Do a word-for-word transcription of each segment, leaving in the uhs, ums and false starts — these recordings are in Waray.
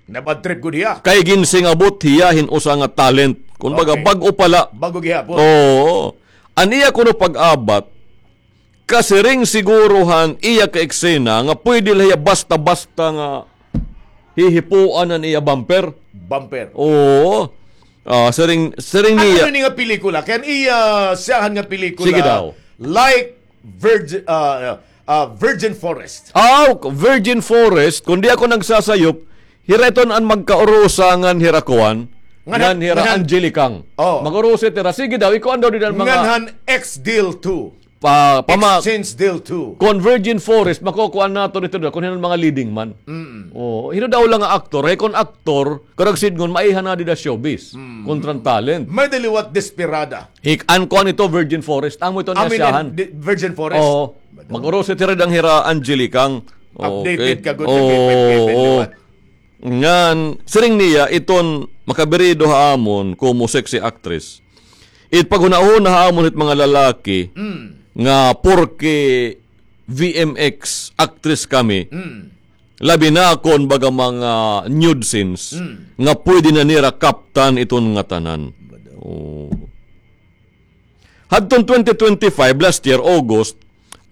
Nabad trip gud hiya. Kay ginsingabot hiya hin usa nga talent. Kumbaga, okay, bag-o pa la. Bag-o gihapon. Oo. An iya kuno pag-abat, kasiring siguro han iya ka eksena nga pwede la hiya basta-basta nga hihipuan an iya bumper. Bumper. Oo. Ah, siring, siring niya. Ano ni nga pelikula? Kay an iya siyahan nga pelikula. Sige daw. Like Virgin, ah, ah, Virgin Forest. Aw, Virgin Forest, kon di ako nagsasayop, hira iton an magkaurusa ngan hira kuan, ngan, ngan hira ngan Angelica. Oh. Mag-urusa hira. Sige daw, ikuan daw dida an mga ngan han X Deal two. Pa, pama-, Exchange Deal two. Kon Virgin Forest, makukuan naton ito daw, kon hin-o an mga leading man. Mm. Oh, hin-o daw la nga aktor, hay kon aktor, karuyag sidngon, maiha na dida showbiz. Mm. Kontra an talent. May-ada liwat desperada. Hik-an ko an ito, Virgin Forest. Amo ito an siyahan. Virgin Forest. Oo. Mag-urusa hira dida han hira Angelica. Updated ka gud, oo, ka K five K five, oo. Ngan, siring niya, iton makabirido ha amon, komo sexy actress. It paghunahuna ha amon hit mga lalaki, mm, nga porke V M X actress kami, mm, labi na kon baga mga nude scenes, mm, nga pwede na nira kaptan iton ngatanan. Oh. Hadton twenty twenty-five, last year, August,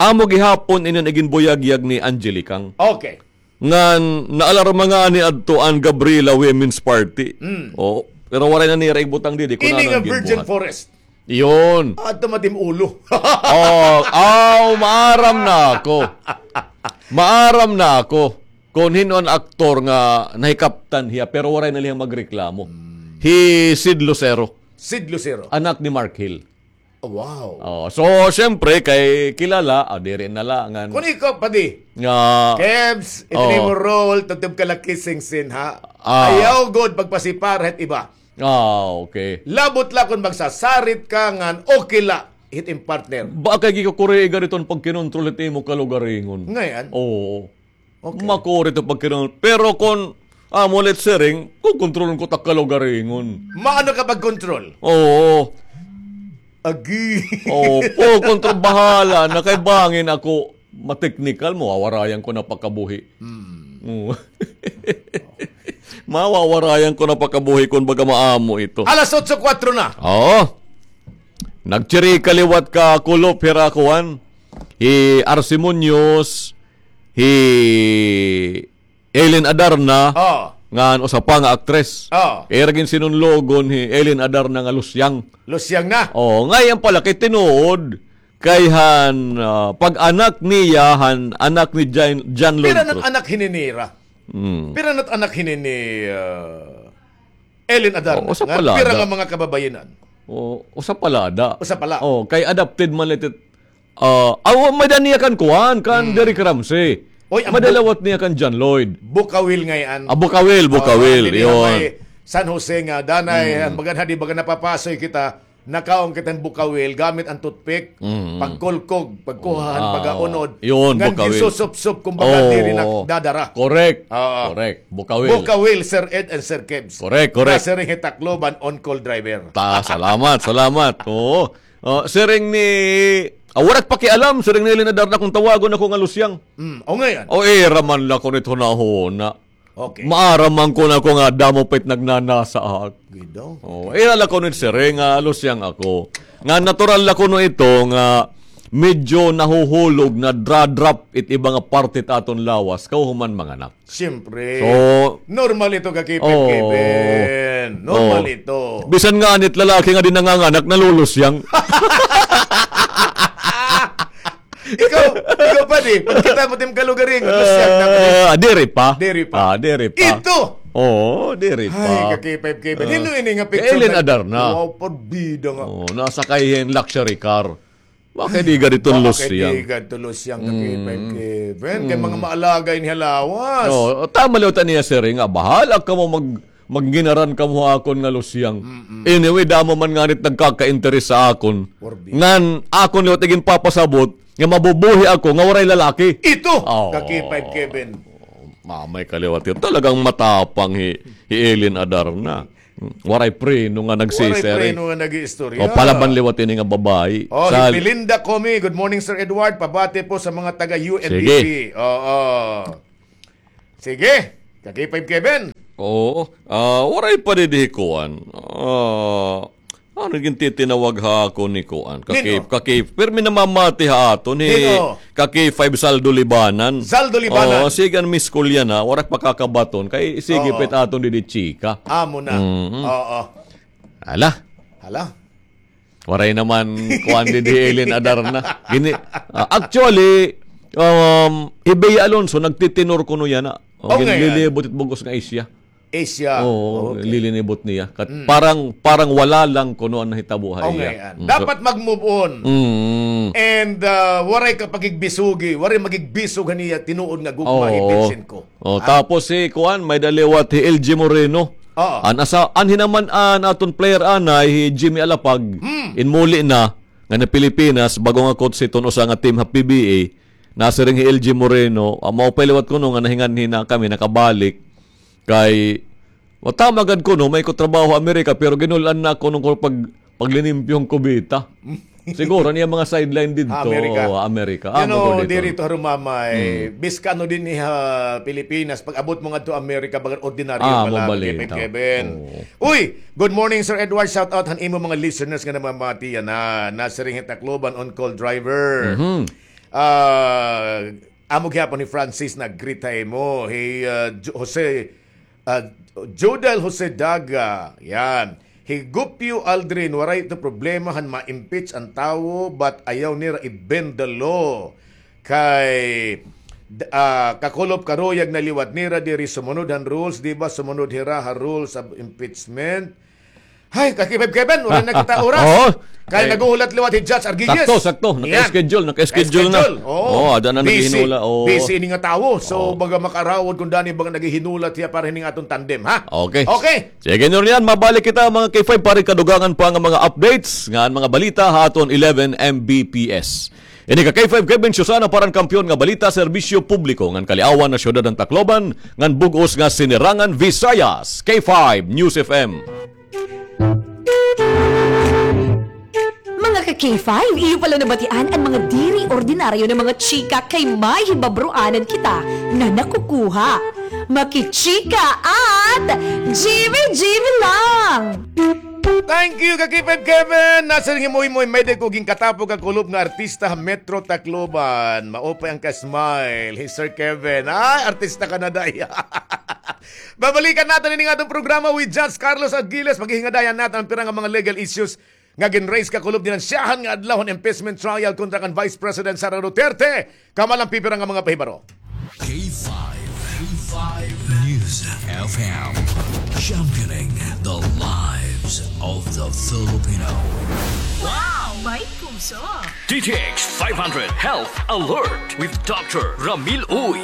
amo gihapon ini an iginbuyagyag ni Angelica. Okay. Ngan naalarma ngani adto an Gabriela Women's Party. Mm. Oh, pero waray na nira igbutang didi kon ano an ginbuhat. Ini nga Virgin Forest. Iyon. Adto matim ulo. Oh, aw, maaram na ako. Maaram na ako kon hin-o an aktor nga nahikaptan hiya, pero waray na la hiya magreklamo. Mm. Hi Sid Lucero. Sid Lucero. Anak ni Mark Hill. Oh, wow. Oh, so, siyempre, kay kilala, ah, diri na la, ngan. Kon ikaw, padi. Nga, Kebs, ito na imo role, tubtob ka la kissing scene, ha? Ah. Ayaw gud pagpasipar hit iba. Ah, okay. Labot la kon magsasarit ka, ngan okay la, hit im partner. Ba kay gikakuriga didto an pagkinontrol hit imo kalugaringon. Ngay-an? Oo. Okay. Makuri ito pagkinahanglan. Pero kon amo la it siring, kokontrolon ko it ak kalugaringon. Maano ka pagkontrol? Oo. Agi. Oo, kokontrol, bahala na kay bangin ako mateknikal, mawawarayan ko na pagkabuhi. Hmm. Oo. Mawawarayan ko na pagkabuhi kon baga maamo ito. Alas otso kuwatro na. Oo. Nagchirika liwat ka kulop hira kuan. Hi Arce Muñoz, hi Eileen Adarna, oh, ngan usa pa nga aktres. Oh. Ira ginsinunlogon hi Eileen Adarna nga Lusyang. Lusyang na? Oh, ngay-an pala kay tinuod kay han, ah, pag-anak niya, han anak ni Jan, John Lloyd Cruz. Pira na it anak hini nira? Hmm. Pira na it anak hini ni, ah, Eileen Adarna? Oh, usa pala ada. Pira nga mga kababayen-an? Oh, usa pala ada. Usa pala. Oh, kay adopted man la it Ah, aw, may-ada niya kan kuan, kan Derek Ramsey. Oy, may-ada liwat niya kan John Lloyd. Bukawil ngay-an. Ah, Bukawil, Bukawil, iyon. May San Jose nga, danay, an baga na, di baga napapasoy kita, nakaon kita hin Bukawil, gamit an toothpick, pagkulkog, pagkuha han baga unod. Iyon, Bukawil. Ngan ginsusupsup, kumbaga, diri na dadara. Correct. Oo. Correct. Bukawil. Bukawil, Sir Ed and Sir Kebs. Correct, correct. Nasiring hi Tacloban, on-call driver. Ta, salamat, salamat. Oo. Ah, siring ni, ah, waray ak pakialam, siring ni Eileen Adarna kon tawagon ako nga Lusyang. Mm, o ngay-an. O, ira man la kuno it hunahuna. Okay. Maaram man kuno ako nga damo pa it nagnanasa ha ak. Gidaw. O, ira la kuno it siring nga Lusyang ako. Nga natural la kuno ito nga medyo nahuhulog, nadra-drop it iba nga parte it aton lawas, kahuman manganak. Siyempre. So, normal ito, ka K five K five. Normal ito. Bisan ngani it lalaki nga di nanganganak, nalulusyang. Ikaw, ikaw pa di, pagkita mo tim kalugaringon, lusyang na pa di. Ah, diri pa. Diri pa. Ah, diri pa. Ito! Oo, diri pa. Ay, ka K five K five. Hin-o ini nga picture? Eileen Adarna. Wow, parbida nga. Oo, nasakay hin luxury car. Wa kay di gad iton lusyang. Wa kay di gad iton lusyang, ka K five K five. Kay mga maalaga ini ha lawas. Oo, tama liwat an iya siring nga bahala kamo mag-, magginaran kamo ha akon nga lusyang. Anyway, damo man ngani it nagkaka-interes ha akon. Ngan akon liwat iginpapasabot nga mabubuhi ako nga waray lalaki. Ito, ka K five K five. Mamay ka liwat ito. Talagang matapang hi, hi Eileen Adarna. Waray preno nga nagsisiring. Waray preno nga nag-iistorya. O, palaban liwat ini nga babayi. O, hi Belinda Comi, "Good morning, Sir Edward. Pabati po sa mga taga U N D P." Sige. Oo. Sige. Ka K five Kevin. Oo. Ah, waray pa didi kuan. Ah, ano gintitinawag ha ako ni kuan? Ka-K-, ka-K-, pirmi namamati ha aton ni ka-K five Zaldo Libanan. Zaldo Libanan. Oo, sige an Miss Kulyana, waray pa kakabaton. Kay sige pa it aton didi chika. Amo na. Mhm. Oo. Hala. Hala. Waray naman kuan didi hi Eileen Adarna. Gini, ah, actually, um, hi Bea Alonso, nagtitinor kuno yana. O, ginlilibot it bug-os nga Asia. Asia. Oo, lilinibot niya. Kat-, parang, parang wala lang kuno an nahitabo ha iya. Mm, so dapat mag-move on. Mm. And, ah, waray ka pagigbisugi, waray magigbisog ha niya tinuod nga gugma hi Vincent Co. Oh, tapos si kuan, may-ada liwat hi L G Moreno. Oo. An asa-, anhi naman an aton player anay, hi Jimmy Alapag. Inmuli na nga na Pilipinas, bag-o nga coach hiton usa nga team ha P B A. Nasiring hi L G Moreno, ah, maupay liwat kuno nga nahinganhi na kami nakabalik. Kay, wa, tama gad kuno, may ko trabaho Amerika, pero ginul-an na kuno ko pag, paglinimpyo han kubeta. Siguro niya mga sideline didto, Amerika. Oo, Amerika. Amo ko didto. Diri to harumamay, biska ano dinhi ha Pilipinas, pag-abot mo ngadto Amerika, baga ordinaryo pa la, Kevin. Kevin. Oo. Uy, good morning, Sir Edward. Shout out han imo mga listeners nga namamati yana. Nasiring hi Tacloban, on call driver. Mhm. Ah, amo gihapon hi Francis nag-greet ha imo. Hi, ah, Jo-, Jose, ah, Jodel Jose Daga. Yan. Hi Gupyo Aldrin, waray ito problema han ma-impeach an tawo, but ayaw nira i-bend the law. Kay, d-, ah, kakulop karuyag na liwat nira diri sumunod han rules, di ba? Sumunod hira ha rules of impeachment. Hay, ka-K five Kevin, waray na kita oras. Oo. Kay naghuhulat liwat hi Judge Arguelles. Sakto, sakto. Naka-schedule, naka-schedule na. Oo. Oo, ada na naghihinula. Oo. Busy ini nga tawo. So, baga makarawod kun dani, baga naghihinulat hiya para hini nga aton tandem, ha? Okay. Okay. Sige, Norian, mabalik kita, mga K five, para kadugangan pa nga mga updates nga mga balita ha aton eleven M B P S. Ini ka K five Kevin Susana para han Kampiyon nga Balita, Serbisyo Publiko ngan Kaliawan ha Syudad han Tacloban, ngan bug-os nga Sinirangan Visayas, K five News F M. Mga ka-K five, iyo pala nabatian an mga diri ordinaryo nga mga chika kay may hibabroanan kita nga nakukuha. Makichika at G V G V lang! Thank you, ka-K five Kevin! Nasiring hi Moymoy, may-ada ko ginkatapo kakulop nga artista ha Metro Tacloban. Maupay an ka-smile. Hi Sir Kevin. Ay, artista ka na, day. Babalikan naton ini nga aton programa with Judge Carlos Aguiles. Paghihingadayan naton an pira nga mga legal issues nga gin-raise kakulop dinhi han syahan nga adlaw han impeachment trial kontra kan Vice President Sara Duterte. Kamalan pipira nga mga pahibaro. K five, K five News F M, championing the lives of the Filipino. Wow! May puso! D T X five hundred Health Alert with Doctor Ramil Uy.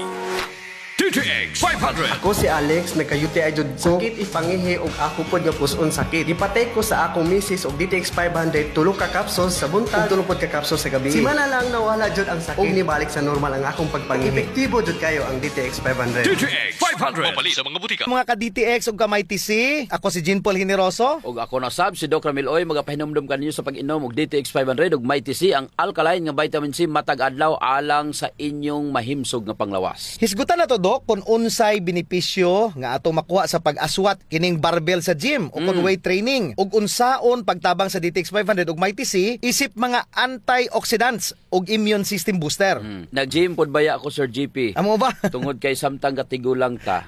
D T X five hundred. Ako si Alex, nagka-U T I jud ko. Sakit it pangihi ug ako pod nga pus-on sakit. Gipatay ko sa akong misis og D T X five hundred, tulo ka capsules sa buntag ug tulo pod ka capsules sa gabii. Simana lang nawala jud ang sakit ug nibalik sa normal ang akong pagpangihi. Epektibo jud kayo ang D T X five hundred. D T X five hundred. Mapalit sa mga butika. Mga ka-D T X ug ka-Mighty C, ako si Jean Paul Generoso. Ug ako na sab, si Doc Ramil Uy, magapahinumdom kaninyo sa pag-inom og D T X five hundred ug Mighty C, ang alkaline nga vitamin C matag adlaw alang sa inyong mahimsog nga panglawas. Hisgutan nato, Doc, kon unsay benepisyo nga atong makuha sa pag-aswat kining barbell sa gym o kon weight training, ug unsaon pagtabang sa D T X five hundred ug Mighty C isip mga antioxidants ug immune system booster. Nag-gym pod baya ako, Sir G P. Amo ba? Tungod kay samtang gatigulang ta,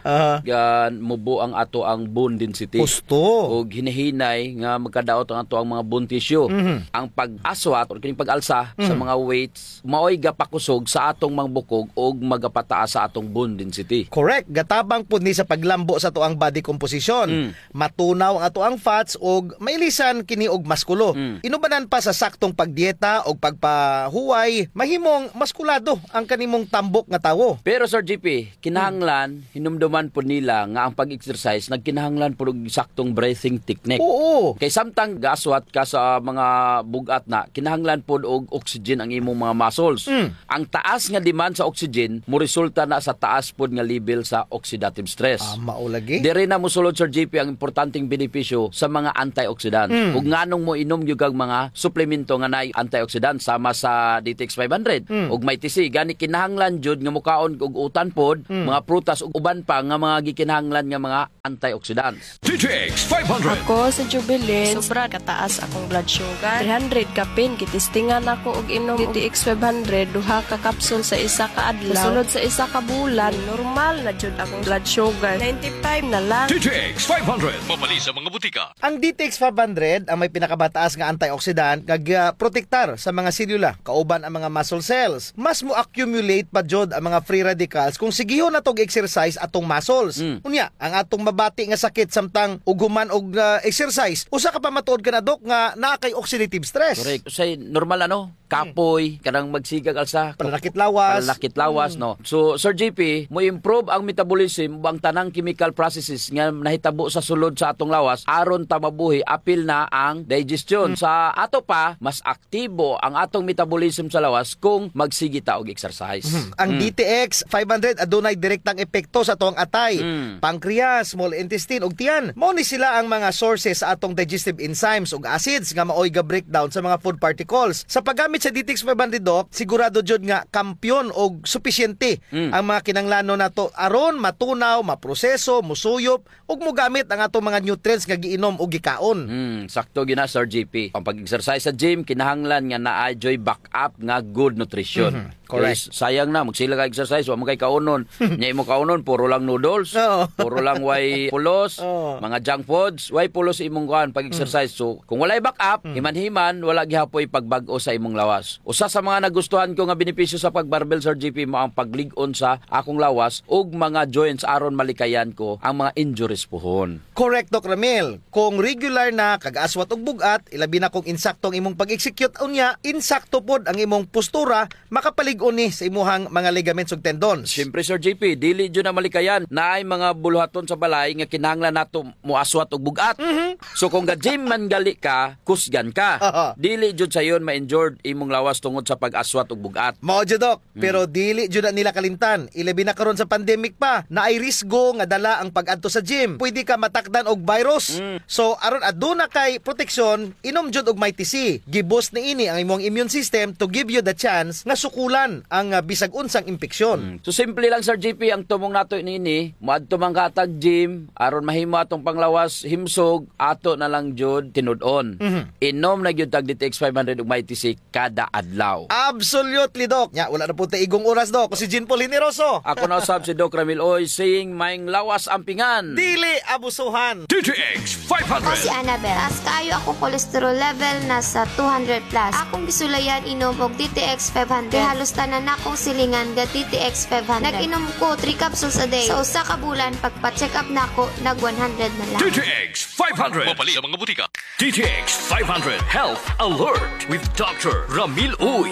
mubo ang ato ang bone density. Husto. Ug hinahinay nga magkadaot ang ato ang mga bone tissue. Ang pag-aswat or kining pag-alsa sa mga weights, maoy gapakusog sa atong mga bukog ug magapataas sa atong bone density. Correct. Gatabang pud ni sa paglambo sa ato ang body composition. Matunaw ang ato ang fats ug mailisan kini og maskulo. Inubanan pa sa saktong pagdieta ug pagpahuway, mahimong maskulado ang kanimong tambok nga tawo. Pero, Sir G P, kinahanglan hinumduman pod nila nga ang pag-exercise nagkinahanglan pod og saktong breathing technique. Oo. Kay samtang gaaswat ka sa mga bug-at na, kinahanglan pod og oxygen ang imong mga muscles. Ang taas nga demand sa oxygen moresulta na sa taas pod nga level sa oxidative stress. Ah, mao lagi. Diri na mosulod, Sir J P, ang importanteng benepisyo sa mga antioxidant. Mm. Ug nganong moinom gyud kag mga suplemento nga naay antioxidant sama sa D T X five hundred Mm. ug Mighty C. Gani kinahanglan jud nga mokaon og utan pod, Mm. mga prutas ug uban pa nga mga gikinahanglan nga mga antioxidants. D T X five hundred. Ako si Jubilin. Sobra kataas akong blood sugar. Three hundred kapin. Gitistingan ako og inom D T X five hundred, duha ka kapsul sa isa ka adlaw. Sa sulod sa isa ka bulan, normal na jud akong blood sugar. Ninety-five na lang. D T X five hundred. Mapalit sa mga butika. Ang D T X five hundred ang may pinakamataas nga antioxidant nga gaprotektar sa mga selula, kauban ang mga muscle cells. Mas mo-accumulate pa jud ang mga free radicals kung sigihon nato og exercise atong muscles. Mm. Unya, ang atong mabati nga sakit samtang ug human og, ah, exercise, usa ka pamatuod kana, Doc, nga naa kay oxidative stress. Correct. Usahay normal, ano? Kapoy, kanang magsigag alsa, Pananakit lawas. Pananakit lawas, Mm. no? So, Sir J P, mo-improve ang metabolism ug ang tanang chemical processes nga nahitabo sa sulod sa atong lawas aron ta mabuhi, apil na ang digestion. Mm. Sa ato pa, mas aktibo ang atong metabolism sa lawas kung magsige ta og exercise. Mhm. Ang Mm. D T X five hundred adunay direktang epekto sa atong atay, Mm. pancreas, small intestine, ug tiyan. Mao ni sila ang mga sources sa atong digestive enzymes ug acids nga maoy ga-breakdown sa mga food particles. Sa paggamit sa D T X five hundred, Doc, sigurado jud nga kampiyon og supisyente Mm. ang mga kinahanglanon nato aron matunaw, maproseso, musuyop, ug mogamit ang atong mga nutrients nga giinom o gikaon. Hmm, sakto gyud na, Sir J P. Ang pag-exercise sa gym, kinahanglan nga naa juy backup nga good nutrition. Mhm, correct. Kay sayang na, magsige ka exercise, wa man kay kaunon. Nya imo kaunon, puro lang noodles, Oo. puro lang way pulos, Oo. mga junk foods, way pulos imong kuan pag-exercise. Mm. So, kung walay backup, Mm. himan-himan, wala gihapoy pagbag-o sa imong lawas. Usa sa mga nagustuhan ko nga benepisyo sa pag-barbell, Sir J P, mao ang paglig-on sa akong lawas ug mga joints aron malikayan ko ang mga injuries puhon. Correct, Doc Ramil. Kung regular na kag aswat og bug-at, ilabi na kung insakto ang imong pag-execute, unya, insakto pod ang imong postura, makapalig-on ni sa imuhang mga ligaments ug tendons. Siyempre, Sir J P, dili jud na malikayan. Naay mga buluhaton sa balay nga kinahanglan nato moaswat og bug-at. Mhm. So, kung ga-gym man gali ka, kusgan ka. Aha. Dili jud sayon ma-injured imong lawas tungod sa pag-aswat og bug-at. Mao jud, Doc. Mm. Pero dili jud na nila kalimtan. Ilabi na karon sa pandemic pa, naay risgo nga dala ang pag-adto sa gym. Pwede ka matakdan og virus. Mm. So, aron aduna kay proteksyon, inom jud og Mighty C. Gi-boost niini ang imong immune system to give you the chance nga sukulan ang, ah, bisag unsang impeksyon. Mm. So, simple lang, Sir J P, ang tumong nato niini, moadto man ka hatag gym, aron mahimo atong panglawas himsog, ato na lang jud tinud-on. Mhm. Inom na gyud tag D T X five hundred ug Mighty C kada adlaw. Absolutely, Doc. Nya, wala na pod ta igong oras, Doc. Ako si Jean Paul Generoso. Ako na usab si Doc Ramil Uy, saying, "Maayong lawas ampingan." Dili abusuhan. D T X five hundred. Ako si Annabel. Taas kaayo akong cholesterol level, nasa two hundred plus. Akong gisulayan inom og D T X five hundred. Kay halos tanan nakong silingan ga D T X five hundred. Nag-inom ko three capsules a day. Sa usa ka bulan, pagpa-check up nako, nag one hundred na lang. D T X five hundred. Mapalit sa mga butika. D T X five hundred Health Alert with Doctor Ramil Uy.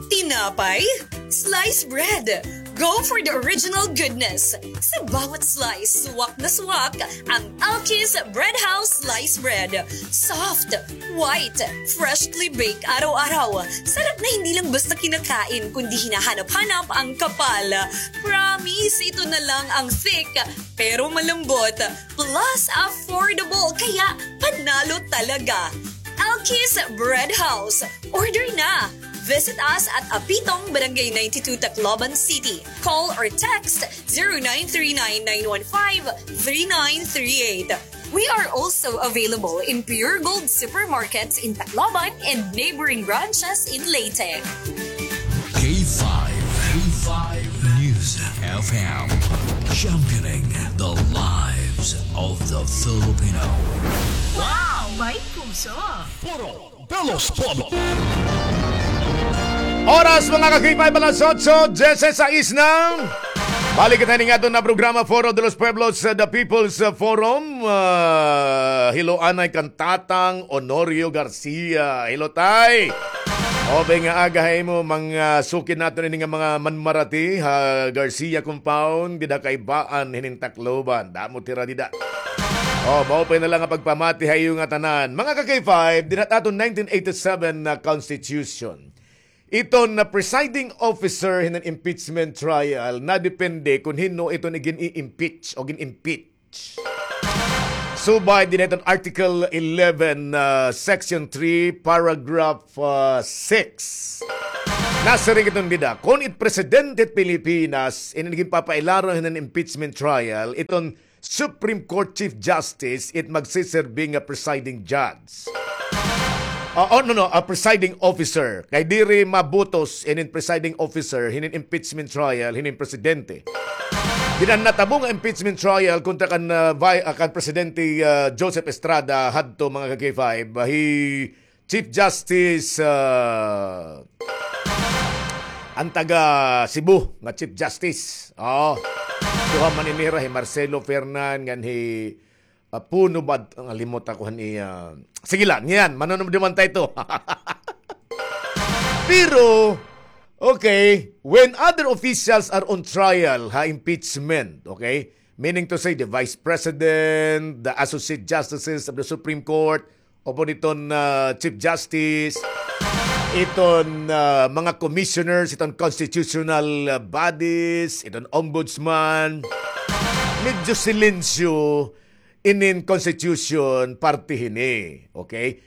Tinapay? Slice bread. Go for the original goodness. Sa bawat slice, swak na swak ang Alki's Bread House Slice Bread. Soft, white, freshly baked araw-araw. Sarap na hindi lang basta kinakain, kundi hinahanap-hanap ang kapal. Promise, ito na lang ang thick pero malambot. Plus affordable, kaya panalo talaga. Alki's Bread House. Order na! Visit us at Apitong, Barangay ninety-two, Tacloban City. Call or text zero nine three nine, nine one five, three nine three eight. We are also available in Pure Gold supermarkets in Tacloban and neighboring branches in Leyte. K five, K five News F M, championing the lives of the Filipino. Wow! May puso! Foro de los Pueblos. Oras, mga ka-K five, alas otso dieciséis na. Balik kita ini nga aton nga programa, Foro de los Pueblos, uh, The People's, uh, Forum. Uh, hello anay kan Tatang Honorio Garcia. Hello, Tay. Maupay nga aga ha imo, mga sukid naton ini nga mga manmarati ha Garcia Compound, dida kay Baan, hinin Tacloban. Damo hira dida. O, maupay na lang nga pagpamati ha iyo nga tanan. Mga ka-K five, dinha aton nineteen eighty-seven na Constitution. Iton na presiding officer hinan impeachment trial, nadepende kon hin-o iton igin-i-impeach o gin-impeach. Subay dinhi hiton Article eleven, ah, Section three, Paragraph, ah, six. Nasiring iton dida, kon it presidente hit Pilipinas, ini ginpapailaron hinan impeachment trial, iton Supreme Court Chief Justice, it magsiserbi nga presiding judge. Ah, oh, no, no, a presiding officer. Kay diri mabutos inin presiding officer, hinin impeachment trial, hinin presidente. Dida natabo nga impeachment trial kontra kan, ah, vi-, ah, kan Presidente, ah, Joseph Estrada hadto, mga ka-K five, ah, hi Chief Justice, ah, an taga Cebu nga Chief Justice. Oo. Duha man ini hira, hi Marcelo Fernan ngan hi, ah, Puno bad, nalimot ako han iya. Sige la, niyan, manunod naman tayo to. Pero, okay, when other officials are on trial ha impeachment, okay, meaning to say the Vice President, the Associate Justices of the Supreme Court, upod iton, ah, Chief Justice, iton, ah, mga commissioners, iton constitutional, ah, bodies, iton ombudsman, medyo silensyo inin constitution parte hini. Okay?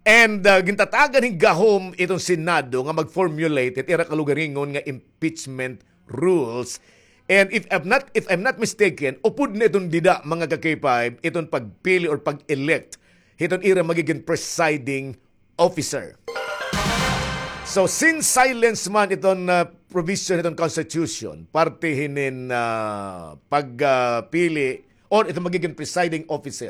And, ah, gintatagan hin gahom iton Senado nga mag-formulate it ira kalugaringon nga impeachment rules. And if I'm not, if I'm not mistaken, upod na iton dida, mga ka-K five, iton pagpili or pag-elect hiton ira magigin presiding officer. So, since silence man iton, ah, provision hiton constitution, parte hinin, ah, pagpili or iton magigin presiding officer.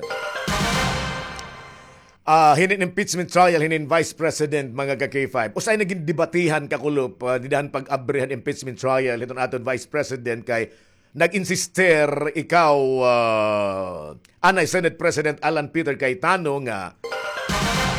Ah, hinin impeachment trial, hinin Vice President, mga ka-K five. Usa ini gindebatihan kakulop, ah, dida han pag-abri han impeachment trial hiton aton Vice President kay nag-insister ikaw, ah, anay Senate President Alan Peter Cayetano nga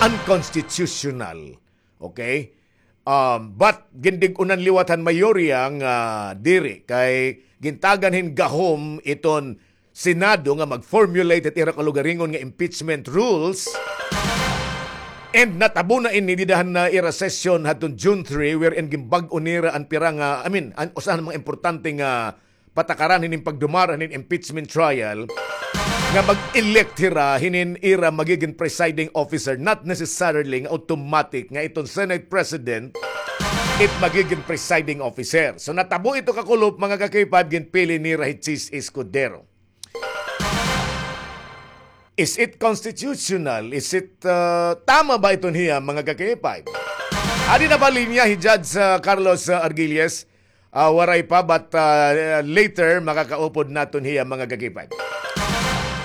unconstitutional. Okay? Um, but gindig-unan liwat han mayorya nga diri kay gintagan hin gahom iton Senado nga mag-formulate it ira kalugaringon nga impeachment rules. And natabo na ini dida han ira session hadton June three, wherein ginbag-o nira an pira nga, I mean, an usa han mga importante nga patakaran hinin pagdumara hinin impeachment trial nga mag-elect hira hinin ira magigin presiding officer, not necessarily nga automatic nga iton Senate President it magigin presiding officer. So natabo ito kakulop, mga ka-K five, ginpili nira hi Chiz Escudero. Is it constitutional? Is it, uh, tama ba iton hiya, mga ka-K five? Adi na ba linya hi Judge, uh, Carlos, uh, Argilles? Ah, waray pa, but, ah, later, makakaupod naton hiya, mga ka-K five.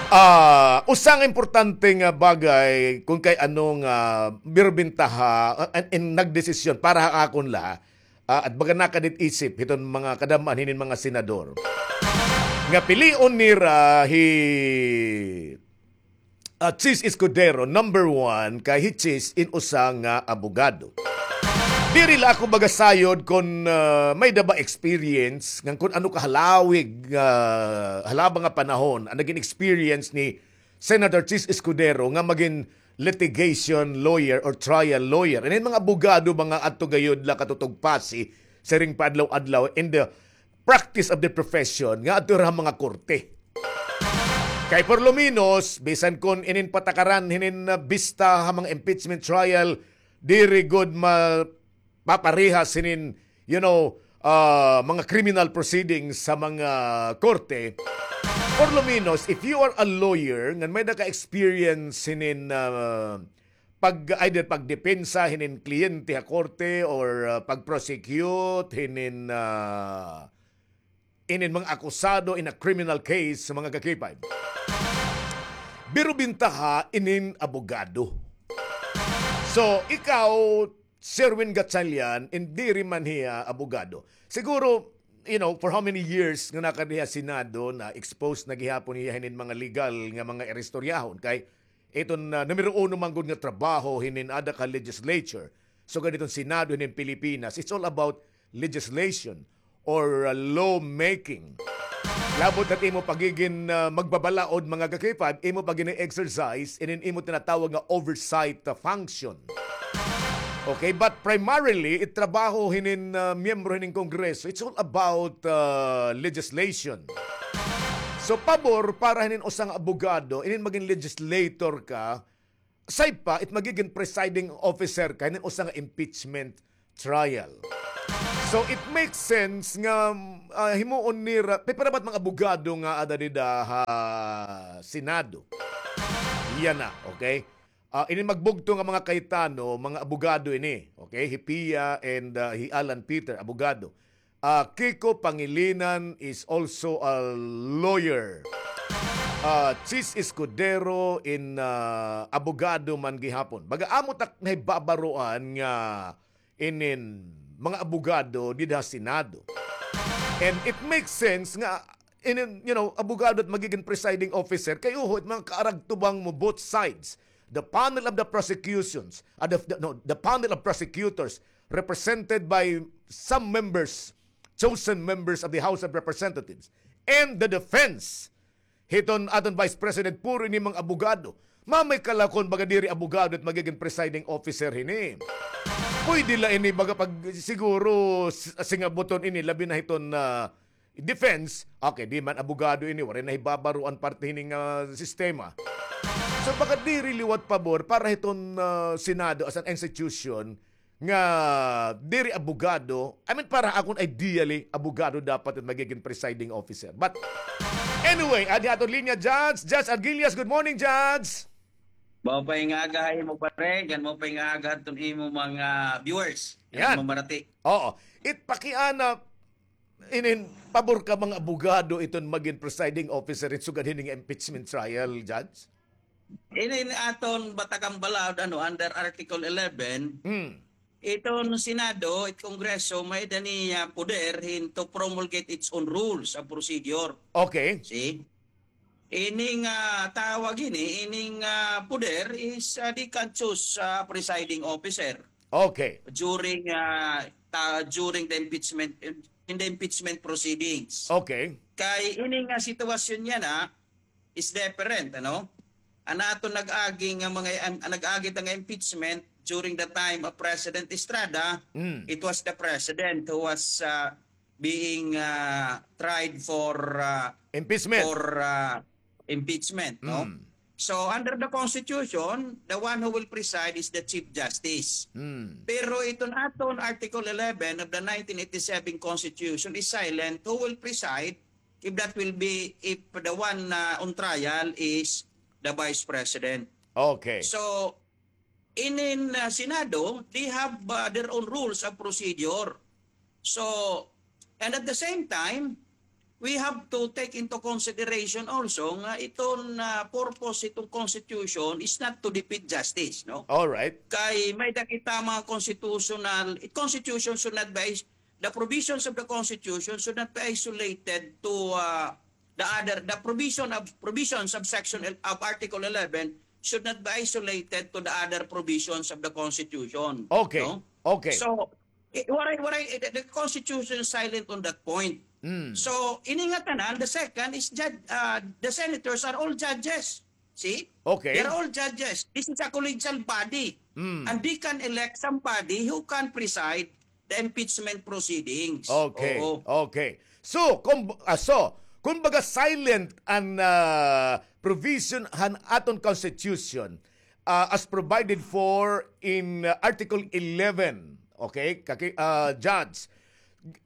Ah, usa nga importante nga bagay, kung kay ano nga, birbintaha, ah, in, in nagdesisyon, para ha akon la, ah, at baga nakadit isip, hiton mga kadam-an hinin mga senador. Nga pilion nira hi ah, Chiz Escudero, number one, kay hi Chiz in usa nga abogado. Diri la ako magasayod kon, ah, may-ada ba experience, ngan kon ano kahalawig, ah, halaba nga panahon an nagin experience ni Senator Chiz Escudero nga magin litigation lawyer or trial lawyer. Inin mga abogado, mga adto gayod la katutog pasi, siring pa adlaw-adlaw, in the practice of the profession nga adto ha mga korte. Kay por lo menos, bisan kon inin patakaran hinin, ah, bista ha mga impeachment trial, diri gud mapaparehas hinin, you know, ah, mga criminal proceedings sa mga korte. Por lo menos, if you are a lawyer, ngan may-ada ka experience hinin, ah, pag, either pagdepensa hinin kliyente ha korte or, ah, pag-prosecute hinin, ah, inin mga akusado in a criminal case, mga ka-K five. Birbintaha inin abogado. So, ikaw, Sherwin Gatchalian, diri man hiya abogado. Siguro, you know, for how many years nga nakadiri ha Senado, na-expose na gihapon hiya hinin mga legal nga mga iristoryahon. Kay iton, ah, numero uno man gud nga trabaho hinin ada ka legislature. So, ganiton Senado hinin Pilipinas, it's all about legislation or, uh, law making. Labot na imo pagigin, uh, magbabalaod, mga ka-K five, imo pagin exercise inin imo tinatawag nga oversight, uh, function. Okay, but primarily, it trabaho hinin, ah, miyembro hinin Kongreso, it's all about, ah, legislation. So, pabor para hinin usa nga abogado, inin magin legislator ka, aside pa, it magigin presiding officer ka hinin usa nga impeachment trial. So, it makes sense nga, ah, himuon nira, pipira ba it mga abogado nga ada dida ha Senado? Yana, okay? Ah, ini magbugto nga mga Cayetano, mga abogado ini. Okay? Hi Pia and, ah, hi Alan Peter, abogado. Ah, Kiko Pangilinan is also a lawyer. Ah, Chiz Escudero in, ah, abogado man gihapon. Baga amo tak nahibabaroan nga inin mga abogado dida ha Senado. And it makes sense nga inin, you know, abogado it magigin presiding officer kay uho it mga kaaragtubang mo both sides. The panel of the prosecutions, uh, the, the, no, the panel of prosecutors represented by some members, chosen members of the House of Representatives, and the defense. Hiton aton Vice President, puro ini mga abogado. Mamay kalakon baga diri abogado it magigin presiding officer hini. Pwede la ini baga pag siguro s-, singabuton ini, labi na hiton, ah, defense. Okay, di man abogado ini, waray nahibabaroan parte hini nga sistema. So, baga diri liwat pabor para hiton, ah, Senado as an institution nga diri abogado. I mean, para akon ideally, abogado dapat it magigin presiding officer. But anyway, adi aton linya, Judge. Judge Arguillas, good morning, Judge. Maupay nga aga ha imo, pare, ngan maupay nga aga ha aton imo mga viewers. Yan. Mamarati. Oo. It pakiana, inin, pabor ka mga abogado iton magin presiding officer in sugad hini nga impeachment trial, Judge? Inin aton batakan balaod, ano, under Article eleven, Hmm. iton Senado, it Kongreso, may-ada niya poder hin to promulgate its own rules of procedure. Okay. See? Ini nga tawag ini, ini nga poder is, ah, they can choose, ah, presiding officer. Okay. During, ah, ta-, during the impeachment, in the impeachment proceedings. Okay. Kay ini nga sitwasyon yana is different, ano? An aton nag-agi nga mga, an, an nag-agi ta nga impeachment during the time of President Estrada, Mm. it was the president who was, ah, being, ah, tried for, ah, Impeachment. for, ah, impeachment, no? Mm. So, under the Constitution, the one who will preside is the Chief Justice. Mm. Pero iton aton Article eleven of the nineteen eighty-seven Constitution is silent who will preside if that will be, if the one, ah, on trial is the Vice President. Okay. So, inin, ah, Senado, they have, ah, their own rules of procedure. So, and at the same time, we have to take into consideration also nga iton, ah, purpose iton Constitution is not to defeat justice, no? All right. Kay may-ada kita mga constitutional, it Constitution should not be, the provisions of the Constitution should not be isolated to, ah, the other, the provision of, provisions of section el-, of Article eleven should not be isolated to the other provisions of the Constitution. Okay. No? Okay. So, eh, waray, waray, eh, the, the Constitution is silent on that point. Mm. So, ini nga tanan, the second is judge, ah, the senators are all judges. See? Okay. They're all judges. This is a collegial body. Mm. And they can elect somebody who can preside the impeachment proceedings. Okay. Oo. Okay. So, kung, ah, so, kumbaga silent an, ah, provision han aton Constitution, ah, as provided for in, ah, Article eleven. Okay? Kaki-, ah, Judge,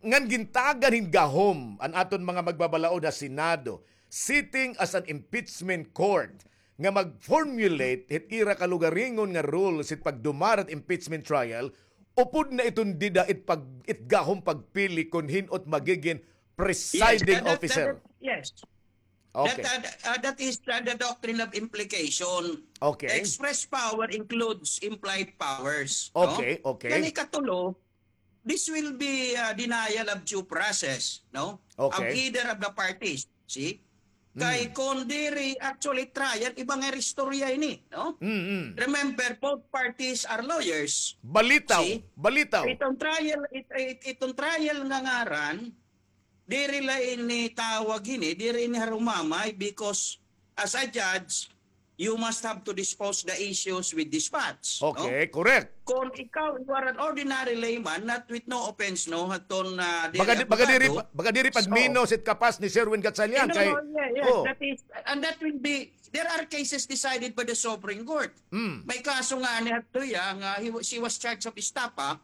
ngan gintagan hin gahom an aton mga magbabalaod ha Senado, sitting as an impeachment court, nga mag-formulate hit ira kalugaringon nga rules hit pagdumara hit impeachment trial, upod na iton dida it pag-, it gahom pagpili kon hin-o it magigin presiding officer. Yes, that, that, that, yes. Okay. That, uh, uh, that is, uh, the doctrine of implication. Okay. Express power includes implied powers, no? Okay, okay. Kani katulo, this will be, uh, denial of due process, no? Okay. Of either of the parties. See? Kay kon diri actually trial, iba nga istorya ini, no? Mm, mm. Remember, both parties are lawyers. Balitaw, balitaw. See? Itong trial, it-, it-, itong trial nga ngaran, diri la ini tawag ini, diri ini harumamay because as a judge, you must have to dispose the issues with dispatch, no? Okay, correct. Kon ikaw, you are an ordinary layman, not with no offense, no, haton, ah, diri baga di, baga diri abogado. Pa, baga diri pagminos it kapas ni Sherwin Gatchalian. Eh, no, kay, no, yeah, yeah, oh, that is, and that will be, there are cases decided by the Supreme Court. Mm. May kaso nga ni hadto iya nga he wa-, she was charged of estafa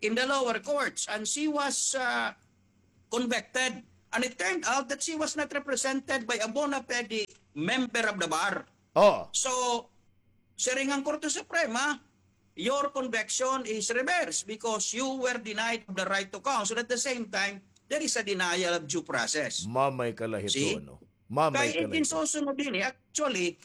in the lower courts and she was, ah, convicted. And it turned out that she was not represented by a bona fide member of the bar. Oh. So, siring an Korte Suprema, your conviction is reversed because you were denied of the right to counsel. At the same time, there is a denial of due process. Mamay ka la hito, no? Mamay ka la hito. Kay it ginsusunod ini, actually,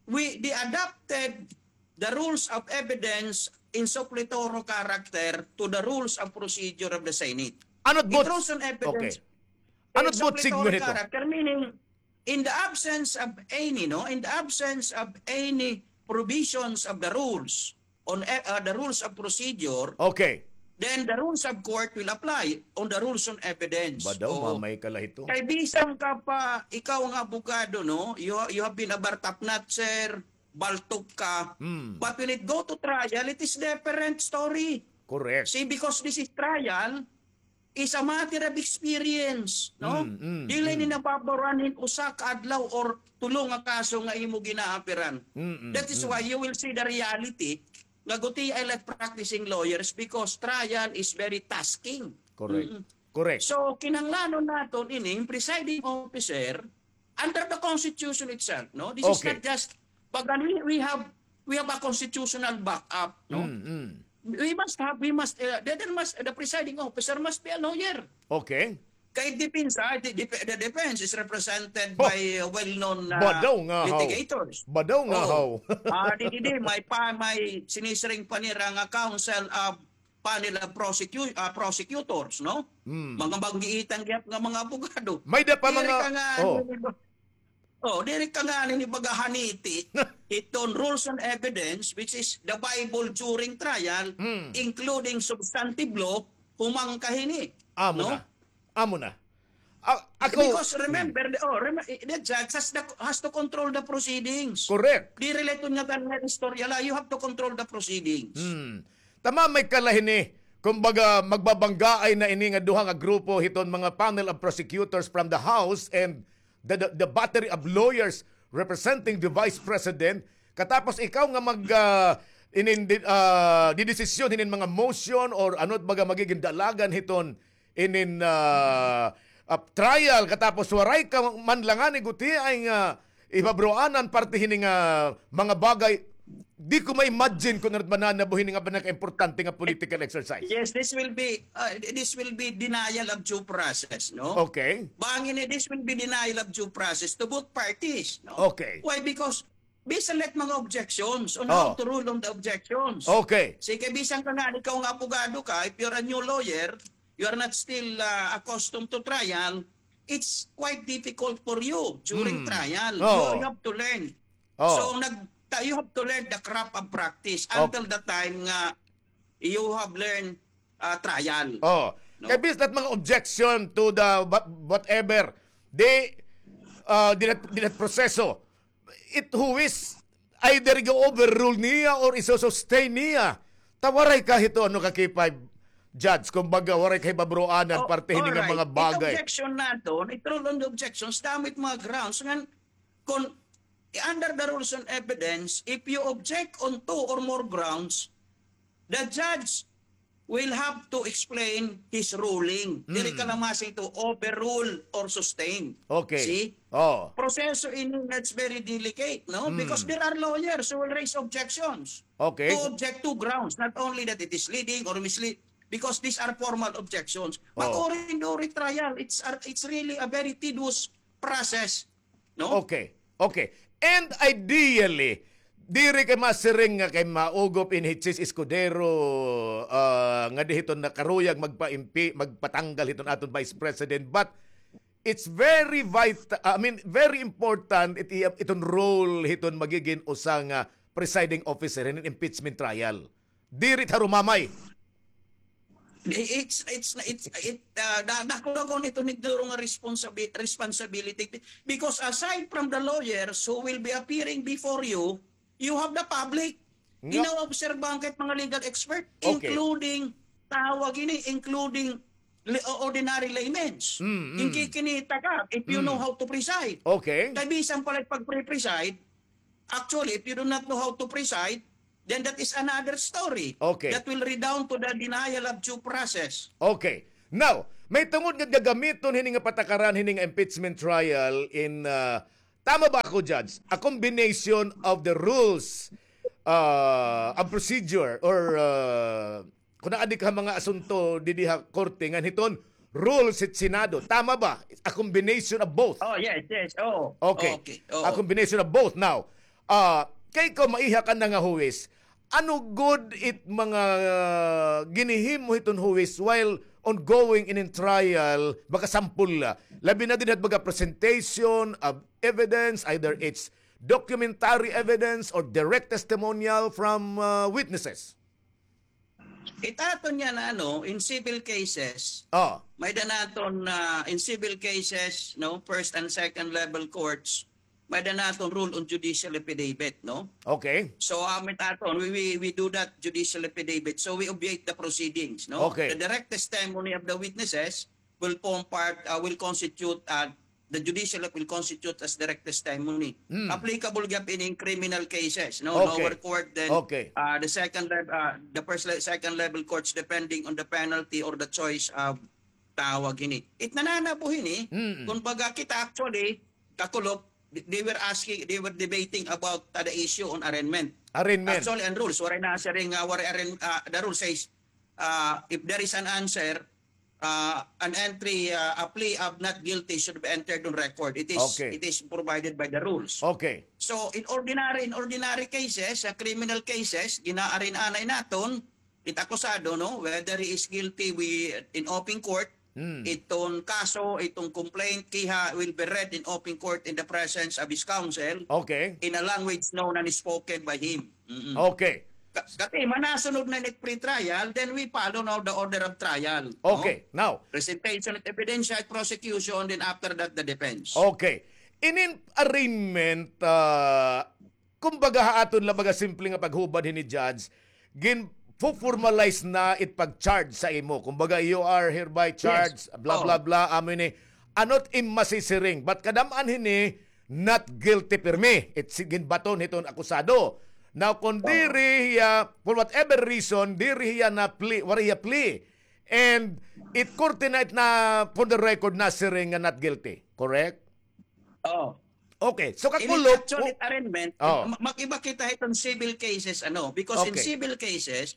we, they adapted the rules of evidence in suppletorio character to the rules of procedure of the Senate. Ano it rules on evidence? Okay. Ano it suppletorio character, meaning, in the absence of any, no, in the absence of any provisions of the rules on e-, uh, the rules of procedure, okay, then the rules of court will apply on the rules on evidence. Badaw, oo, mamay ka la hito. Kay bisan ka pa, ikaw nga abogado, no, you, you have been a bar top notcher, baltok ka, hmm, but when it go to trial, it is different story. Correct. See, because this is trial, is a matter of experience, no? Mm, mm, dili ni nababaruan hin usa ka adlaw or tulo nga kaso nga imo ginaapiran. Mm, mm, that is why you will see the reality nga gutiay la practicing lawyers because trial is very tasking. Correct. Mm. Correct. So, kinahanglanon naton ini, presiding officer, under the Constitution itself, no? This is not just, pag we, we have, we have a constitutional backup, no? Mm, mm. We must have, we must, uh, the, there must, the presiding officer must be a lawyer. Okay. Kay depensa, the, the, the defense is represented by, uh, well-known, uh, litigators. Badaw nga haw. Ah, di, di, di, may pa, may sinisiring pa nira nga counsel of panel of prosecu-, ah, prosecutors, no? Hmm. Mga manggiitan gihap nga mga abogado. May da pa mga, diri ka nga, oh, diri ka nga ni baga haniti iton rules on evidence, which is the Bible during trial, hmm, including substantive law, human ka hini. Amo na. Amo na. Ah, ako, because remember, the, oh, rem-, the judge has the, has to control the proceedings. Correct. Diri la iton nga tan-aw nga istorya la, you have to control the proceedings. Hmm. Tama, may kalahi ni, kumbaga, magbabanggaay na ini nga duha nga grupo hiton mga panel of prosecutors from the House and the, the, the battery of lawyers representing the Vice President. Katapos ikaw nga mag, ah, inin-, di-, ah, didesisyon hinin mga motion or ano baga magiging dalagan hiton inin, ah, ah, trial, katapos waray ka man la ngani gutiay nga ibabaroanan parte hini nga mga bagay. Di ko ma-imagine kon ano it mananabo hini nga pinakaimportante nga political exercise. Yes, this will be, ah, this will be denial of due process, no? Okay. Bangin ini, this will be denial of due process to both parties, no? Okay. Why? Because bisan la it mga objections on how to rule on the objections. Okay. Sige, bisan ka nga, ikaw nga abogado ka, if you're a new lawyer, you are not still, uh, accustomed to trial, it's quite difficult for you during trial. You, you have to learn. So, nag-, ta-, you have to learn the craft of practice until the time nga you have learned, uh, trial. Oh. No? Kay bisan la it mga objection to the wha-, whatever, di, uh, di na, di na proseso. It who is either i-overrule niya or iso-sustain niya. Ta waray ka hito, ano, ka K five judge, kumbaga, waray ka hibabaroanan parte hini nga mga bagay. It objection naton, it rule on the objections, damo it mga grounds ngan kon under the rules on evidence, if you object on two or more grounds, the judge will have to explain his ruling. Diri ka la masiring to overrule or sustain. Okay. See? Oh. Proseso ini that's very delicate, no? Because there are lawyers who will raise objections. Okay. To object to grounds, not only that it is leading or mislead, because these are formal objections. But during, during trial, it's, it's really a very tedious process. No? Okay. Okay. And ideally, diri kay masiring nga kay maugop ini hi Chiz Escudero, ah, nga di hiton nakaruyag magpa-impi-, magpatanggal hiton aton Vice President. But it's very vit-, I mean, very important it-, iton role hiton magigin usa nga presiding officer hinin impeachment trial. Diri it harumamay. It's, it's, it's, it, uh, da-, dako-dako iton nga responsibi-, responsibility. Because aside from the lawyers who will be appearing before you, you have the public. Nga- Ginaobserbahan ka it mga legal expert, okay, including, tawag ini, including li-, ordinary laymen. Mm, mm. Ginkikinita ka, if you know how to preside. Okay. Kay bisan pala pag-pre-preside, actually, if you do not know how to preside, then that is another story. Okay. That will redound to the denial of due process. Okay. Now, may tungod nga gagamiton hini nga patakaran hini nga impeachment trial in, uh, tama ba ako, Judge? A combination of the rules, uh, of procedure or, uh, kun adi ka mga asunto didi ha korte ngan hiton rules hit Senado. Tama ba? A combination of both. Oh, yes, yes. Oh. Okay. Okay. Oh. A combination of both. Now, ah, kay ikaw maiha ka na nga huwis, ano gud it mga, ah, ginhihimo hiton huwis while ongoing in trial, makasampol la. Labi na dinhi ha mga presentation of evidence, either it's documentary evidence or direct testimonial from, ah, witnesses. It aton yana, ano, in civil cases, oh, may-ada naton, ah, in civil cases, no, first and second level courts, may-ada naton rule on judicial affidavit, no? Okay. So, um, it aton, we, we, we do that judicial affidavit. So, we obviate the proceedings, no? Okay. The direct testimony of the witnesses will form part, uh, will constitute, uh, the judicial will constitute as direct testimony. Hmm. Applicable gihap ini in criminal cases, no? Okay. Lower court, then, okay, uh, the second lev-, uh, the first le-, second level courts, depending on the penalty or the choice of tawag ini. It nananabo hini, mm-mm, kun baga kita actually, kakulop, they were asking, they were debating about, uh, the issue on arraignment. Arraignment. Actually, an rules, waray nasiring, uh, waray arraign-, uh, the rule says, uh, if there is an answer, uh, an entry, uh, a plea of not guilty should be entered on record. It is, okay, it is provided by the rules. Okay. So, in ordinary, in ordinary cases, sa criminal cases, gina-arraign anay naton, it akusado, no, whether he is guilty, we, in open court, hmm, iton kaso, iton complaint, kiha will be read in open court in the presence of his counsel, okay, in a language known and spoken by him. Mm-mm. Okay. Ka-, kasi manasunod na nit pre-trial, then we follow now the order of trial, no? Okay, now. Presentation of evidence at prosecution, then after that, the defense. Okay. Inin arraignment, ah, kumbaga ha aton la baga simple nga paghubad hini, Judge, gin-formalize na it pag-charge sa imo. Kumbaga, you are hereby charged, yes, blah, oh, blah, blah, amo ini. Ano it im masisiring? But kadam-an hini, not guilty pirmi. It si-, ginbaton hiton akusado. Now, kung diri hiya, for whatever reason, diri hiya na plea, waray hiya plea. And it korte na it na, for the record, nasiring nga not guilty. Correct? Oh. Okay. So, kakulop, actually, arraignment, oh, ma-, mag-iba kita hiton civil cases, ano, because in, okay, civil cases,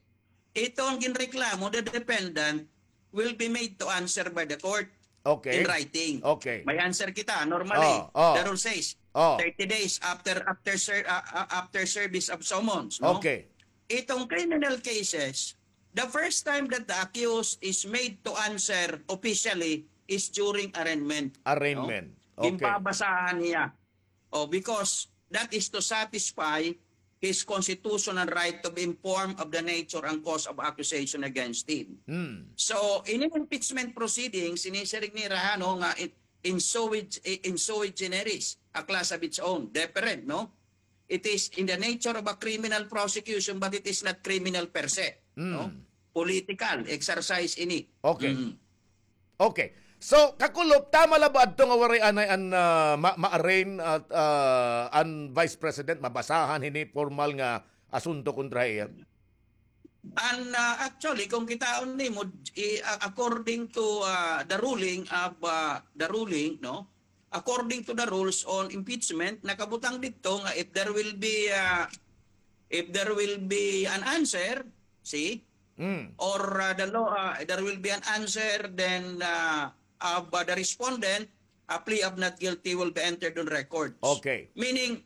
iton ginreklamo, the defendant will be made to answer by the court, okay, in writing. Okay. May answer kita, normally, oh, oh, the rule says, oh, thirty days after, after ser-, ah, ah, after service of summons, no? Okay. Itong criminal cases, the first time that the accused is made to answer officially is during arraignment, no? Arraignment. Okay. Ginbabasahan niya. Oh, because that is to satisfy his constitutional right to be informed of the nature and cause of accusation against him. Hmm. So, in impeachment proceedings, sinisiring nira, ano, nga in, in sui, in sui generis, a class of its own, different, no? It is in the nature of a criminal prosecution, but it is not criminal per se, no? Hmm. Political exercise ini. Okay. Mm. Okay. So, kakulop, tama la ba adto nga waray anay an, ah, ma-, ma-arraign at, ah, an Vice President, mabasahan hini formal nga asunto kontra iya? An, ah, actually, kung kitaon nimo, i-, a-, according to, ah, the ruling of, ah, the ruling, no? According to the rules on impeachment, nakabutang didto nga if there will be, ah, if there will be an answer, see, mm, or, ah, the law, ah, there will be an answer, then, ah, of, ah, the respondent, a plea of not guilty will be entered on records. Okay. Meaning,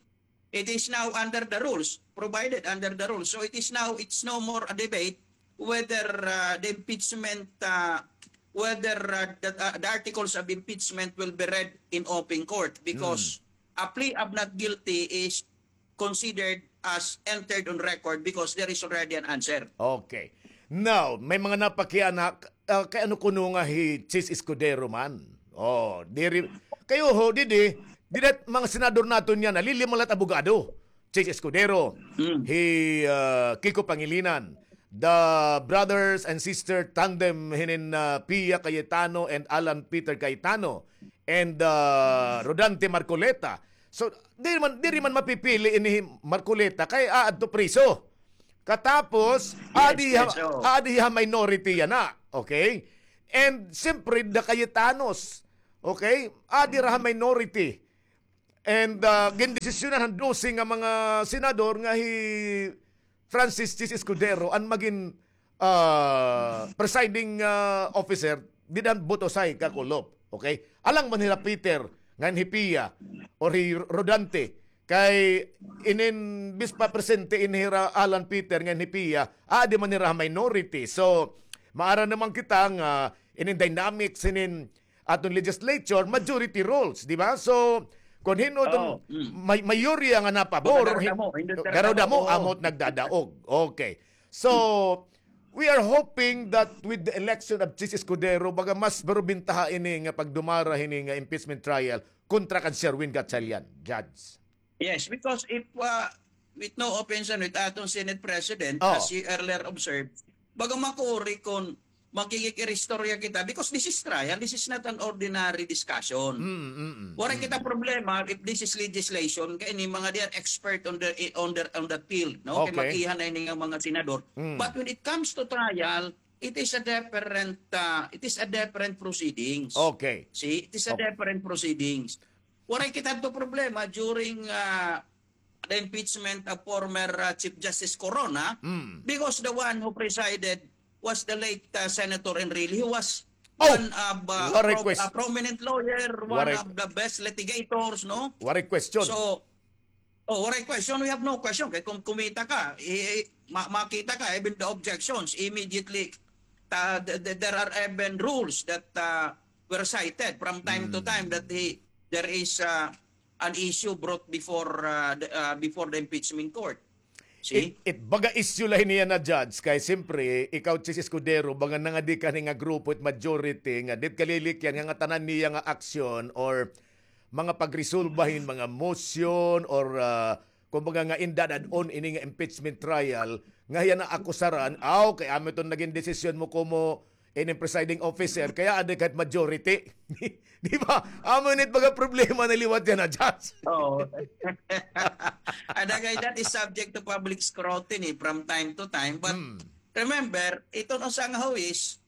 it is now under the rules, provided under the rules. So it is now, it's no more a debate whether, uh, the impeachment, uh, whether, uh, the, uh, the articles of impeachment will be read in open court, because, mm, a plea of not guilty is considered as entered on record because there is already an answer. Okay. Now, may mga napakiana, ah, kay ano kuno nga hi Chiz Escudero man? Oh, diri, kayo ho, didi, dida mga senador naton yana, lilima la it abogado. Chiz Escudero, hi, ah, Kiko Pangilinan, the brothers and sister tandem hinin, ah, Pia Cayetano and Alan Peter Cayetano, and, ah, Rodante Marcoleta. So, diri man, diri man mapipili ini hi Marcoleta kay aadto priso. Katapos, adi ha, adi ha minority yana. Okay? And siyempre, the Cayetanos. Okay? Adi ra ha minority. And, ah, gindesisyonan han dose nga mga senador nga hi Francis Chiz Escudero an magin, ah, presiding, ah, officer dida han Botosay, Kakulop. Okay? Alang man hira Peter, ngan hi Pia, or hi Rodante, kay inin bis pa presente in hira Alan Peter ngan hi Pia, adi man hira ha minority. So, maara naman kita nga inin dynamics inin aton legislature, majority rules, di ba? So, kon hin-o iton may-, mayorya nga napabor, garo damo, amot nagdadaog. Okay. So, we are hoping that with the election of Chiz Escudero, baga mas barubintaha ini nga pagdumara hini nga impeachment trial kontra kan Sherwin Gatchalian, Judge. Yes, because if, uh, with no offense, ano, it aton Senate President, as you earlier observed, baga makuri kon makikig-iristorya kita, because this is trial, this is not an ordinary discussion. Waray kita problema if this is legislation, kay ini mga they are expert on the, on the, on the field, no? Kay mag-iha na ini nga mga senador. But when it comes to trial, it is a different, uh, it is a different proceedings. Okay. See, it is a different proceedings. Waray kita to problema during, uh, the impeachment of former, uh, Chief Justice Corona, because the one who presided was the late, uh, Senator Enrile, who was one of, uh, a prominent lawyer, one of the best litigators, no? Waray question. So, oh, waray question. We have no question. Kay kung kumita ka, i-, ma-, makita ka, even the objections, immediately, ta-, th-, th-, there are even rules that, uh, were cited from time to time that he, there is, uh, an issue brought before, uh, the, uh, before the impeachment court. See? It, it baga issue la hini yana, Judge, kay simpre, ikaw, Chiz Escudero, baga nangadi ka hini nga grupo, it majority, nga dit kalilikyan, nga, nga tanan niya nga aksyon or mga pagresolba hin mga motion or, ah, kumbaga nga indadad-on ini nga impeachment trial, nga hiya naakusaran, aw, kay amo iton nagin desisyon mo komo ini presiding officer, kaya adi kahit majority. Di ba? Amo ini it baga problema na liwat yana, Judge. Oo. Ada kay that is subject to public scrutiny from time to time. But remember, iton usa nga huwis,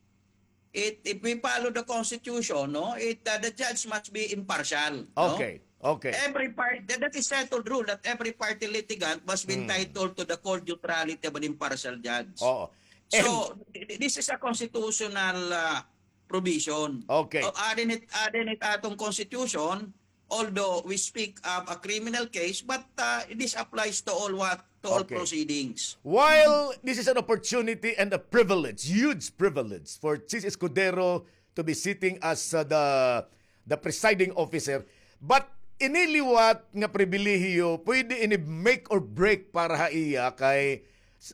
it, if we follow the Constitution, no, it, uh, the judge must be impartial, no? Okay, okay. Every part-, that, that is settled rule that every party litigant must be entitled to the court neutrality of an impartial judge. Oo. So, th-, th-, this is a constitutional, uh, provision. Okay. So, adi it, adi it aton Constitution, although we speak of a criminal case, but, uh, this applies to all what, to all proceedings. While this is an opportunity and a privilege, huge privilege for Chiz Escudero to be sitting as, uh, the, the presiding officer, but ini liwat nga pribilehiyo, pwede ini make or break para ha iya kay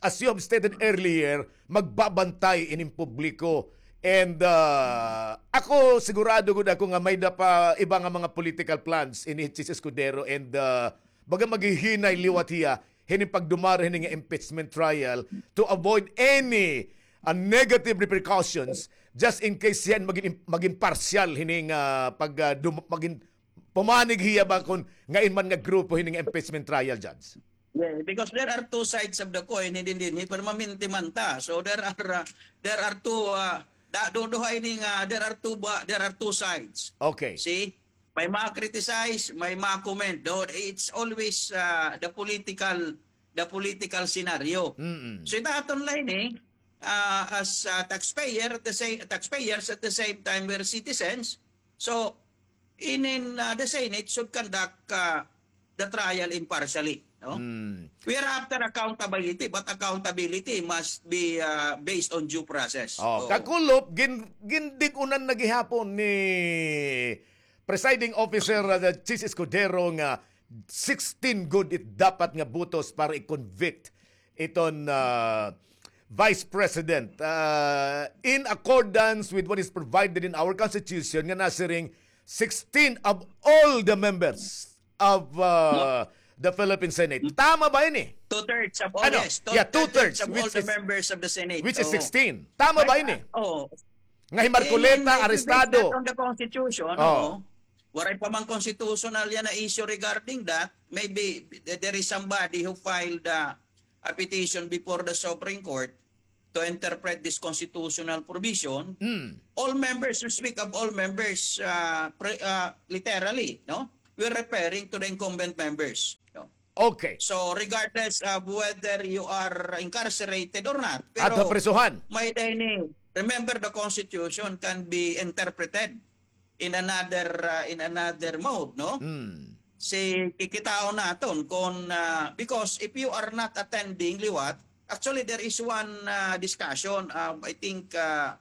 as you have stated earlier, magbabantay ining publiko. And, ah, ako, sigurado gud ako nga may-ada pa iba nga mga political plans ini Chiz Escudero and, ah, baga maghihinay liwat hiya hini pagdumara hini nga impeachment trial to avoid any, ah, negative repercussions just in case hiya magin, magin partial hini nga pag, ah, dum-, magin pumanig hiya ba kon ngain man nga grupo hini nga impeachment trial, Judge? Yeah, because there are two sides of the coin, hindi din, hindi permanente man ta. So there are, uh, there are two, uh, da-, do-, duha ini nga, there are two ba-, there are two sides. Okay. See? May ma-criticize, may ma-comment. Though it's always, uh, the political, the political scenario. Mm-mm. So it aton la ini, uh, as, uh, taxpayer, at the same, taxpayers, at the same time, we're citizens. So, inin, uh, the Senate should conduct, uh, the trial impartially, no? We are after accountability, but accountability must be, uh, based on due process. Oh, Kakulop, gin-, gindig-unan na gihapon ni Presiding Officer, uh, Chiz Escudero nga sixteen gud it dapat nga botos para i-convict iton, ah, Vice President, uh, in accordance with what is provided in our Constitution, nga nasiring sixteen of all the members of uh, the Philippine Senate. Tama ba ini? Two-thirds of all, Ano? Yes. Yeah, Two-thirds two-thirds, of all which the is- members of the Senate. Which is Oo. sixteen. Tama ba ini? Oo. Nga hi Marcoleta, Eh, based arestado. On the Constitution, Oh. Oo. Waray pa man constitutional yana issue regarding that. Maybe th- there is somebody who filed uh, a petition before the Supreme Court to interpret this constitutional provision. Mm. All members, we speak of all members uh, pre- uh, literally, no? We're referring to the incumbent members. No? Okay. So regardless of whether you are incarcerated or not, At pero prisuhan. May-ada ini, remember, the Constitution can be interpreted in another uh, in another mode, no? Mm. Si kikitaon naton kon uh, because if you are not attending liwat, actually there is one uh, discussion, um, I think uh,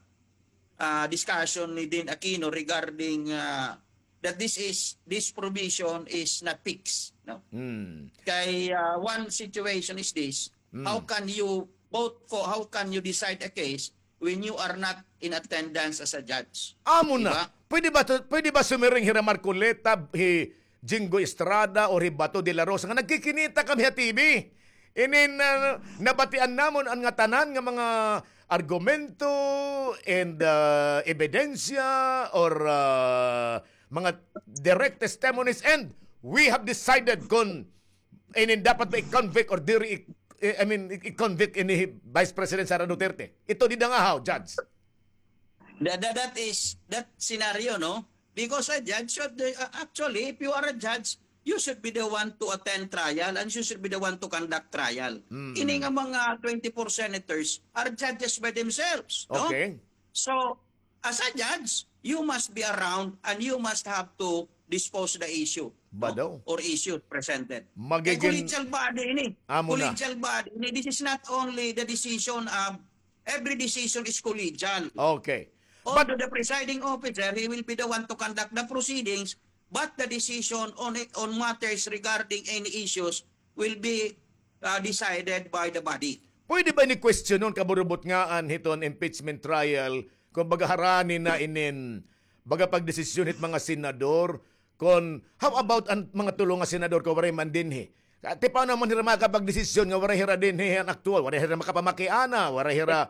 uh, discussion ni Dean Aquino regarding uh, that this is this provision is not fixed, no? Mm. Kay uh, one situation is this, how can you vote for, how can you decide a case when you are not in attendance as a judge? Amo na. Diba? Pwede ba to, pwede ba sumiring hira Marcoleta, hi Jinggoy Estrada, or hi Bato de la Rosa nga nagkikinita kami ha T V? Inin uh, nabatian namon an ngatanan nga mga argumento and uh, ebidensya or uh, mga direct testimonies, and we have decided kung inin dapat ba i-convict or diri i- I mean, i-convict ini hi Vice President Sara Duterte. Ito dida nga how, Judge? That, that, that is that scenario, no? Because a judge should uh, actually, if you are a judge, you should be the one to attend trial and you should be the one to conduct trial. Mm. Ini nga mga twenty-four senators are judges by themselves, no? Okay. So, as a judge, you must be around and you must have to dispose the issue, Ba no? daw? Or issues presented. Magiging- Kay collegial body ini. Amo na. Collegial body ini. This is not only the decision of, every decision is collegial. Okay. Although the presiding officer, he will be the one to conduct the proceedings, but the decision on it, on matters regarding any issues will be uh, decided by the body. Pwede ba ini questionon, kaburubot nga an hiton impeachment trial, kung baga harani na inin baga pagdesisyon hit mga senador, kung how about an mga tulo nga senador kung waray man dinhi? Ti paano man hira makapagdesisyon nga waray hira dinhi an aktual, waray hira makapamakiana, waray hira.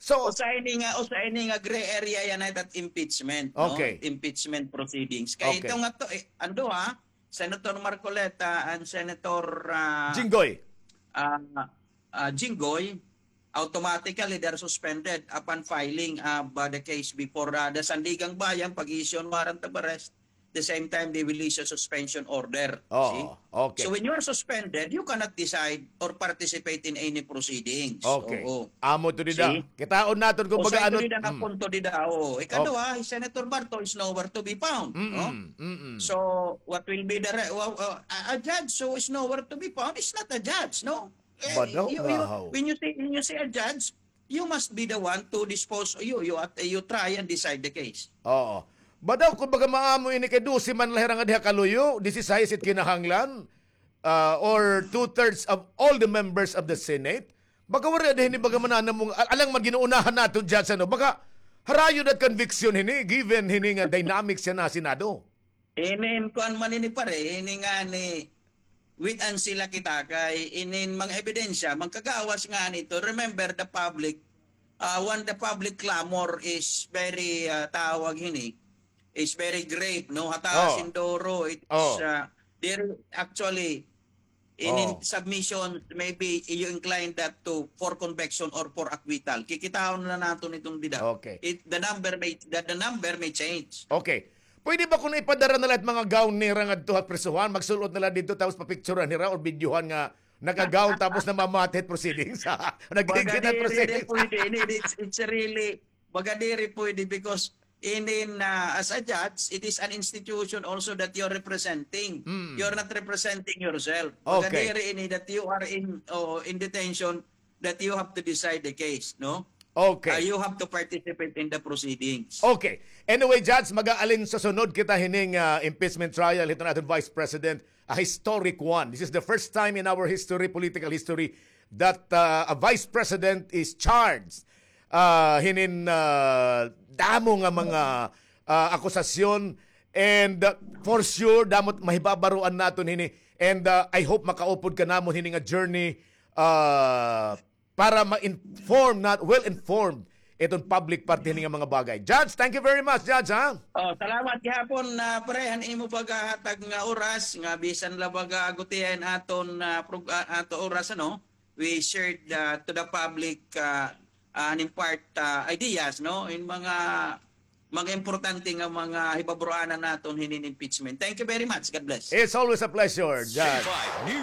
So, Usa ini nga, usa ini nga gray area yana that impeachment, no? Okay. Impeachment proceedings. Kay Okay. Ito nga to, eh, ando ha, Senator Marcoleta and Senator uh, Jinggoy. uh, uh, Jinggoy, automatically they're suspended upon filing uh, by the case before uh, the Sandigang Bayan, pag-issue warrant of arrest. The same time, they will issue suspension order. Oh, See? Okay. So when you are suspended, you cannot decide or participate in any proceedings. Okay. Oo. Amo to dida. See? Kitaon naton kung O baga sa ano. Ito dida nga Mm. punto dida. Oh. Ikaduha, si Senator Barto is nowhere to be found. Mm-mm, No? mm-mm. So, what will be the re- well, uh, a a judge who is nowhere to be found is not a judge, no? Eh, Badaw you- nga you- haw. When you see when you see a judge, you must be the one to dispose. You you at- you try and decide the case. Oo. Badaw, kung baga maamo ini kay dose man la hira nga diha kaluyo, disisais it kinahanglan, uh, or two-thirds of all the members of the Senate, baga waray dinhi baga mananamong, al- alang man ginuunahan naton dyan sa, no? Baga, harayo that conviction hini, given hini nga dynamics yana ha Senado. Inin kuan man ini pare, ini nga ni wait and see la kita kay inin mga ebidensya, magkagawas nga nito. Remember the public, uh, when the public clamor is very, uh, tawag hini, is very grave, no? Hata Oh. Sindoro, it's Oh. uh, they're actually in, in Oh. submission, maybe you incline that to for conviction or for acquittal. Kikitaon na nato nitong dida. Okay. It, the number may the, the number may change. Okay. Pwede ba kung ipadara na la it mga gown nira ngadto ha prisuhan, magsul-ot na la didto tapos papicturan nira or videohan nga naka-gown tapos namamati hit proceedings? Nagigit hit Baga diri, proceedings. Pwede ini, it's, it's really, baga diri pwede because in, in uh, as a judge, it is an institution also that you're representing. Mm. You're not representing yourself. Baga Okay. Diri ini that you are in oh, in detention that you have to decide the case, no? Okay. Uh, you have to participate in the proceedings. Okay. Anyway, Judge, mag-aalin sa sunod kita hining ah, impeachment trial hiton aton Vice President, a historic one. This is the first time in our history, political history, that uh, a vice president is charged uh, hinin uh, damo nga mga uh, akusasyon. And uh, for sure, damo it mahibabaroan naton hini. And uh, I hope makaupod ka namon hini nga journey uh, para ma-inform na, well informed iton public parte hini nga mga bagay. Judge, thank you very much, Judge, ha? Oh, salamat gihapon na, pre, han imo paghahatag nga oras nga bisan la baga gutiay an aton ah, prog- ah, ato oras, ano, we shared ah, to the public ah, ah, an in part ah, ideas, no, in mga mga importante nga mga hibabaroanan naton hinin impeachment. Thank you very much. God bless. It's always a pleasure, Judge.